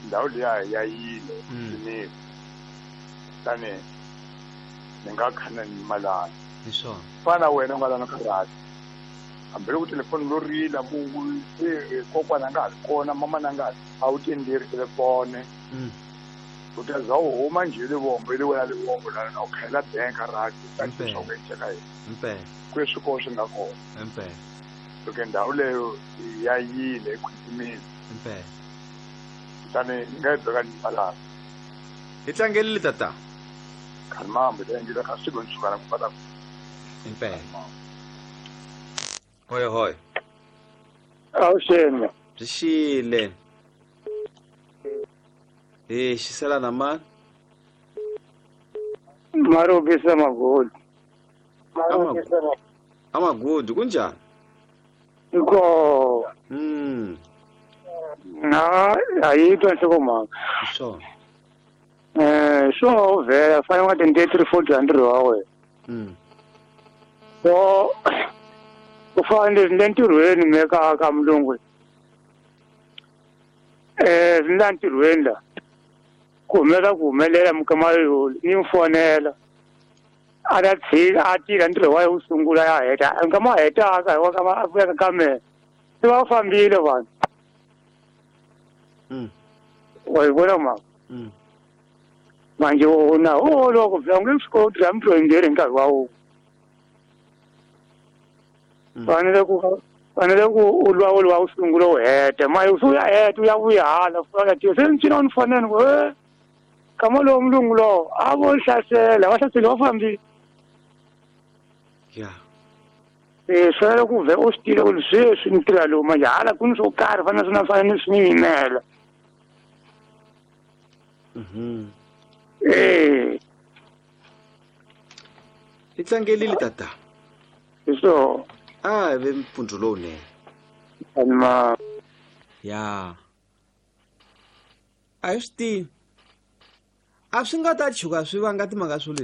Ndhawu liya ya yile swinene. Tani ni nga khana ni malana. Hi swona. Fana wena u nga lana karhati. Hambi loko telefoni lo rila ku se kokwana a nga ha ri kona, mamana a nga ha a wu tenderi telefoni. U ta za u huma njhe Livombo, ile wena Livombo la u khayela bank rati u ta swa ku endleka yini. Impela. Kweswi ko swi nga kona. Impela. Loko ndhawu leyo ya yile ekhwitimile. Impela. Kutani ni nga yi beka ni malana. Hi tlangelile tata. Khalimambo ta endlela ka siku ntsukana ku fana. Impela. Hoy hoy. Awuxeni. Byi xile. Eh, xisela na mani? Marobisa Magodi. Amagodi kunjani? Nko. Na ayitwa nhlokomhaka. Swona. So vhela fanele nga tende 3 4 ntirho wa wena. So ku fanele ni le ntirhweni me ka mulungu. Ni la ntirhweni la. Ku humelela ku humelela mikama yo ni n'wi fonela. A ta tshika a tirha ntirho wa yena wu sungula ya heta. Nkama a hetaka hi wa kama a vuya ka mina. Se va fambile vanhu. Wa yi vona mhaka? Manje wona o loko vula nge swi koti la mintirho yimbirhi hi nkarhi wa wun'we. Fanele ku u lwa u lwa u sungula u heta. Manje u ya heta u ya vuya hala u ya tirha. Se ni cina ni fonela ni ku kama lowu mulungu lowo a vo hlasela, va hlasele va fambile. Swi ku vhe u swi tiva ku sweswi ni tirha lowu manje hala ku ni swo karhi fanele swi na fanele ni swi yimela. Hi tlangelile tata. Hi swona. A ve mpfundzu lowunene. Ma. Ya. A hi swi tivi. A swi nga ta chuka swi vanga timhaka swo leswi.